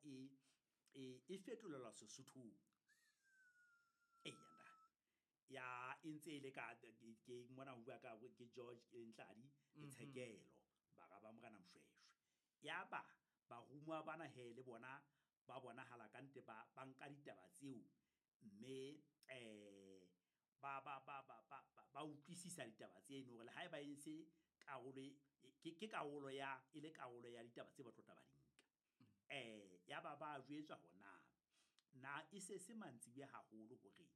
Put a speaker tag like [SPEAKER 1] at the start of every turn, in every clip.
[SPEAKER 1] e fetolelwa Sesothong. Eya ntate. Ya e ntse e le ka ke mona ho bua ka ke George e leng Tladi le Tshekelo, bara ba Morena Mshweshwe. Yaba barumuwa bana he le bona ba bonahala ka nnete ba nka ditaba tseo mme ba utlwisisa ditaba tseno hore le haeba e se karolo ke karolo ya e le karolo ya ditaba tse ba tlo tla ba di nka. Yaba ba jwetswa hore na e se se mantsibuya haholo hore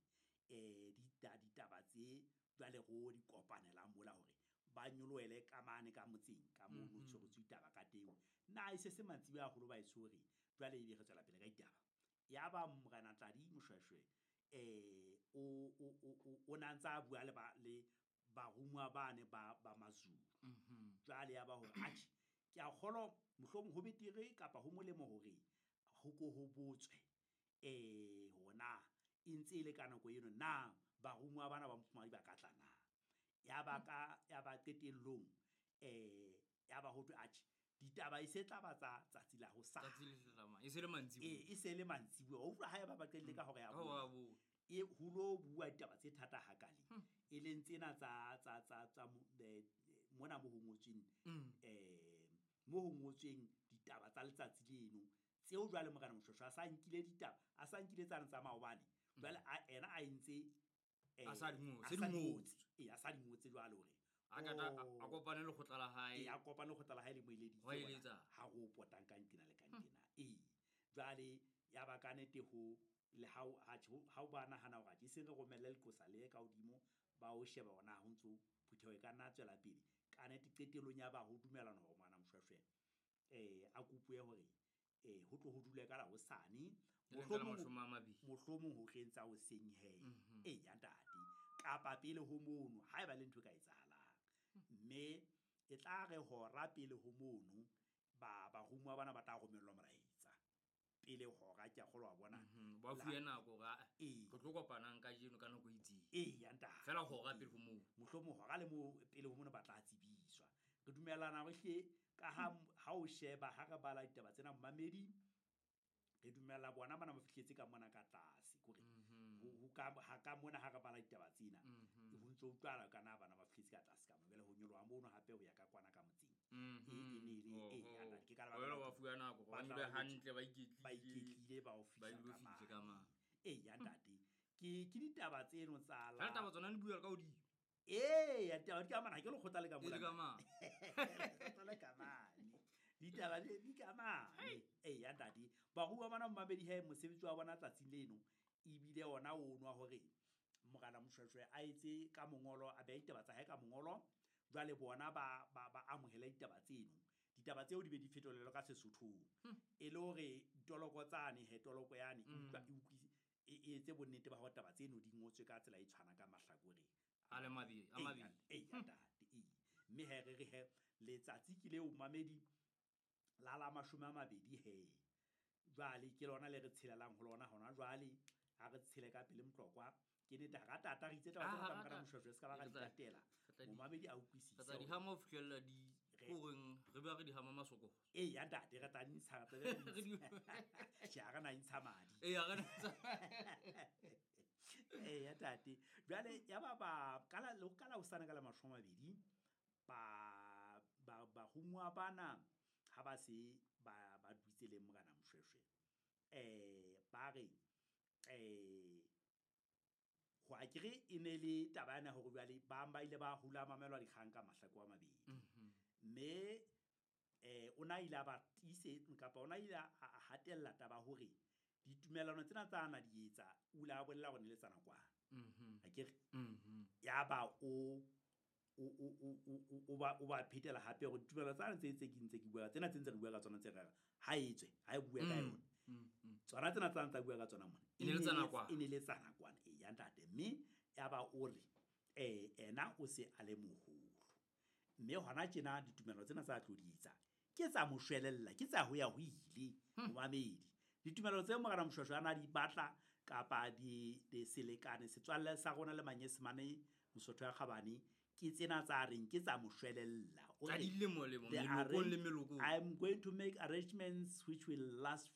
[SPEAKER 1] ditaba tse jwale ro di kopanelang mola hore ba nyolohele ka mane ka motseng ka mono tshweretswe ditaba ka teng. Na e se se mantsibuya haholo ba e tshwere jwale ebe re tswela pele ka ditaba. Yaba Morena Tladi Moshoeshoe o na ntsa bua le ba le barumuwa bane ba Mazulu. Jwale ya ba hore atjhe ke a kgolwa mohlomong ho betere kapa ho molemo hore ho ko ho botswe hona e ntse e le ka nako eno na barumuwa bana ba mofumahadi ba ka tla na. Ya ba ka ya ba qetellong ya ba ho thwe atjhe ditaba e se tla ba tsa tsatsi la hosane.
[SPEAKER 2] Tsatsi le hlahlamang. E se le mantsibuya.
[SPEAKER 1] E se le mantsibuya. O utlwa ha eba ba qetelle ka hora ya
[SPEAKER 2] Ka hora ya
[SPEAKER 1] bone.
[SPEAKER 2] bone.
[SPEAKER 1] E ho lo bua ditaba tse thata hakale. E leng tsena tsa mona mo ho ngotsweng, mo ho ngotsweng ditaba tsa letsatsi leno. Tseo jwale Morena Moshoeshoe a sa nkile ditaba, a sa nkile tsane tsa maobane. Jwale ena a entse,
[SPEAKER 2] A sa di ngotse,
[SPEAKER 1] a
[SPEAKER 2] di
[SPEAKER 1] sa di
[SPEAKER 2] ngotse.
[SPEAKER 1] ngotse. Ee, a sa di ngotse jwale hore
[SPEAKER 2] A ka tla, a kopane le lekgotla la hae.
[SPEAKER 1] Ee, a kopane le lekgotla la hae le moeleditse
[SPEAKER 2] Ho
[SPEAKER 1] hore
[SPEAKER 2] eletsa.
[SPEAKER 1] ha ro potang ka nqena le ka nqena. Ee. Jwale ya ba ka nnete ho le ha o, ha tjho, ha o ba nahana hore atjhe, e seng re romelle leqosa le ka hodimo, ba o sheba hore na ho ntso phutheho e ka nna tswela pele. Ka nnete qetellong ya ba ho dumellana hore Morena Moshoeshoe, a kopuwe hore, ho tlo ho dule ka la hosane.
[SPEAKER 2] E leng ka la
[SPEAKER 1] Mohlomong
[SPEAKER 2] mashome a mabedi.
[SPEAKER 1] mohlomong ho tleng tsa hoseng he. Ee, ya ntate. Kapa pele ho mono, haeba le ntho e ka etsahalang. Mme e tla re hora pele ho mono, barumuwa bana ba tla romellwa molaetsa. Pele hora, ke a kgolwa wa bona.
[SPEAKER 2] Ba fuwe nako hore, ah,
[SPEAKER 1] Ee.
[SPEAKER 2] re tlo kopanang kajeno ka nako e itseng.
[SPEAKER 1] Ee, ya ntate.
[SPEAKER 2] Feela hora pele ho moo.
[SPEAKER 1] Mohlomong hora le moo pele ho mono ba tla tsebiswa. Re dumellana hore hle ka ha o sheba, ha re bala ditaba tsena mmamedi, re dumella bona bana ba fihletse ka mona ka tlase, kore ho ka, ha ka mona ha re bala ditaba tsena, ho ntso utlwahala ka na bana ba fihletse ka tlase ka mona. Jwale ho nyoloha mono hape ho ya ka kwana ka motseng. E ne e le, e, ya ntate, ke ka lebaka
[SPEAKER 2] Jwale
[SPEAKER 1] la
[SPEAKER 2] ba
[SPEAKER 1] hore
[SPEAKER 2] fuwa nako,
[SPEAKER 1] ba
[SPEAKER 2] ba
[SPEAKER 1] tla
[SPEAKER 2] dule
[SPEAKER 1] ba
[SPEAKER 2] hantle, ba iketlile.
[SPEAKER 1] ba iketlile, ba o fihla
[SPEAKER 2] Ba ilo
[SPEAKER 1] ka
[SPEAKER 2] fihle ka
[SPEAKER 1] mane.
[SPEAKER 2] mane.
[SPEAKER 1] Ee, ya ntate. Ke ditaba tseno tsa la
[SPEAKER 2] Jwale taba tsona di bua ka hodimo.
[SPEAKER 1] Ee, ya ditaba di ka mane, ha ke lekgotla le ka
[SPEAKER 2] E le
[SPEAKER 1] mola.
[SPEAKER 2] ka mane.
[SPEAKER 1] Lekgotla le ka mane. Ditaba di ka mane. Ee, ya ntate. Baruwa bana mmamedi he, mosebetsi wa bona tsatsing leno, ebile ona o nwa hore Morena Moshoeshoe a etse ka mongolo, a behe ditaba tsa hae ka mongolo. Jwale bona ba amohele ditaba tseno. Ditaba tseo di be di fetolelwe ka Sesothong. E le hore toloko tsane he, toloko yane e utlwa, e utlwisi, e etse bonnete ba hore taba tseno di ngotswe ka tsela e tshwanang ka mahlakoreng.
[SPEAKER 2] A le mabedi, a
[SPEAKER 1] Ee,
[SPEAKER 2] mabedi.
[SPEAKER 1] ee, ya ntate, ee. Mme he re re he, letsatsi ke leo mamedi la 20 he. Jwale ke lona le re tshelelang ho lona hona jwale, ha re tshele ka pele Motlokwa. Ke nnete, ha ra tata, re itse taba tsena
[SPEAKER 2] Ah,
[SPEAKER 1] tsa
[SPEAKER 2] ha
[SPEAKER 1] Morena
[SPEAKER 2] ra
[SPEAKER 1] Moshoeshoe, se ka ba ra di tatela.
[SPEAKER 2] Re tla di-
[SPEAKER 1] Momamedi a utlwisise
[SPEAKER 2] Re tla di
[SPEAKER 1] hore
[SPEAKER 2] hama ho fihlella di
[SPEAKER 1] Re-
[SPEAKER 2] koreng, re be re di hama masoko.
[SPEAKER 1] Ee, ya ntate, re tla di ntsha, re tla di
[SPEAKER 2] Re di-
[SPEAKER 1] ntsha. Tjhe, ha re na ntsha madi.
[SPEAKER 2] Ee, ha re na ntsha.
[SPEAKER 1] Ee, ya ntate. Jwale, ya ba ba, ka la, le ka la hosane ka la 20, barumuwa bana ha ba se ba dutse le Morena Moshoeshoe. Ba re, ho akere e ne le taba yana hore jwale ba ile ba hula mamelwa dikgang ka mahlako a mabedi. Mme, o na ile a ba tiise, kapa o na ile a hatella taba hore ditumellano tsena tsa na di etsa, o ile a bolela hore ne le tsa nakwana. Akere? Ya ba o ba phetela hape hore ditumellano tsane tse ke ntse ke bua, tsena tse ntse re bua ka tsona tse re ha e tswe, ha e bue ka yona. Tsona tsena tsa ntse bua ka tsona mona.
[SPEAKER 2] E ne le tsa nakwana.
[SPEAKER 1] E ne le tsa nakwana, ee, ya ntate. Mme ya ba o re, ena o se a le moholo. Mme hona tjena ditumellano tsena tsa tlo di etsa, ke tsa mo shwelella, ke tsa ho ya ho ile, momamedi. Ditumellano tse Morena Moshoeshoe a na di batla kapa di selekane, setswalle sa rona le Manyesemane, Mosotho ya Kgabane, ke tsena tsa reng ke tsa mo shwelella. O
[SPEAKER 2] Tsa
[SPEAKER 1] re,
[SPEAKER 2] dilemo lemo,
[SPEAKER 1] The
[SPEAKER 2] melokong le
[SPEAKER 1] arrange-
[SPEAKER 2] melokong.
[SPEAKER 1] I'm going to make arrangements which will last